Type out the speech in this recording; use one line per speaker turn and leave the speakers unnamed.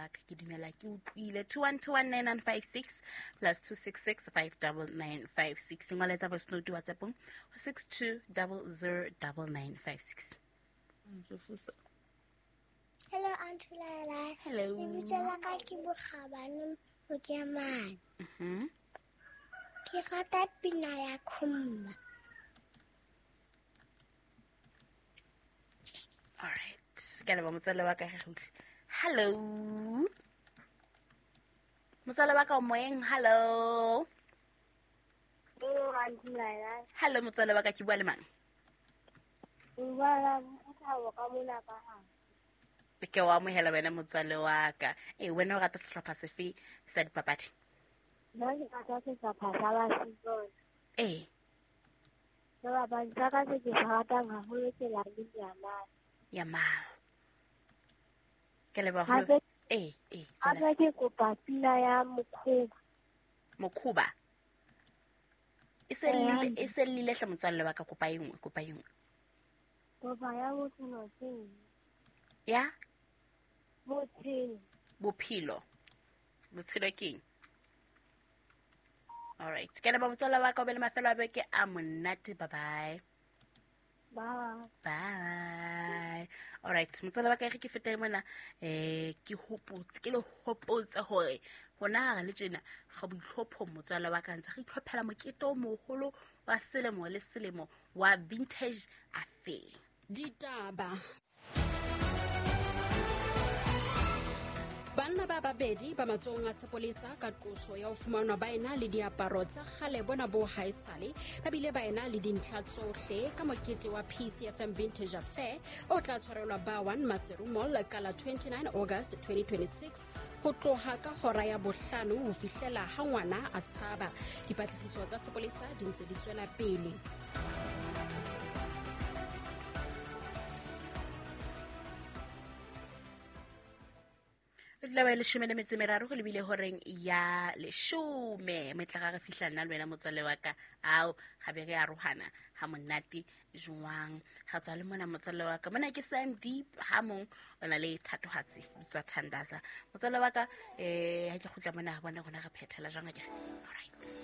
wa ka, ke dumela ke utlwile. 21219956 plus 266 59956. Ngoletsa voice note WhatsAppong ho 62009956.
Hello, Auntie Laila.
Hello.
Lebitso la ka ke Bokgabane Mokemane. Ke rata pina ya Khumba.
All right. Ke a leboha motswalle wa ka, re utlwe. Hello. Motswalle wa ka o moyeng, hello.
Hello, Auntie Laila.
Hello motswalle wa ka, ke bua le mang?
O bua le Thabo ka mona ka ha.
Ke o amohela wena motswalle wa ka. Ee, wena o rata sehlopha sefe sa dipapadi?
Nna ke rata sehlopha sa Barcelona.
Ee.
Sebapadi sa ka se ke se ratang haholo ke Lamine Yamal.
Yamal. Ke leboha.
Hape
Ee, ee, tswela.
hape ke kopa pina ya Mokhoba.
Mokhoba. E se llile, e se llile hle motswalle wa ka, kopa e nngwe, kopa e nngwe.
Kopa ya bophelo ke
Ya
bophelo.
Bophelo. Botshelo ke eng? All right. Ke leboha motswalle wa ka, o be le mafelo a beke a monate. Bye bye.
Bye.
Bye. All right. Motswalle wa ka, re ke fete mona, ke hopotse, ke le hopotse hore hona ha re le tjena ga boitlhophong motswalle wa ka, ntse re itlhophela mokete o moholo wa selemo le selemo wa Vintage Affair.
Ditaba. Banna ba babedi ba matsohong a sepolesa ka qoso ya ho fumanwa ba ena le diaparo tsa kgale bona bo haesale, ba bile ba ena le dintlha tsohle ka mokete wa PCFM Vintage Affair o tla tshwarelwa ba 1 Maseru Mall ka la 29 August 2026 ho tloha ka hora ya bohlano ho fihlela ha ngwana a tshaba. Dipatlisiso tsa sepolesa di ntse di tswela pele.
Tla ba leshome le metso e meraro go lebile horeng ya leshome metla ga re fihla nna le wena motswalle wa ka, ao ga be re arohana ha monate jwang. Ga tswa le mona motswalle wa ka, mona ke Sam Deep ha mong o na le thatohatsi tswa Thandaza. Motswalle wa ka, ha ke kgutla mona bona rona re phethela jwang akere. All right.